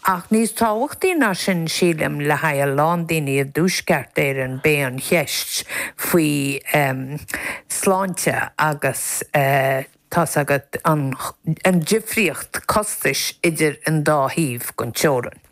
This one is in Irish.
Ach níos tábhachtaí ná sin, sílim, le haghaidh a lán daoine i dTuaisceart Éireann, b'é an cheist faoi sláinte agus tá's agat, an difríocht costais idir an dá thaobh den teorainn.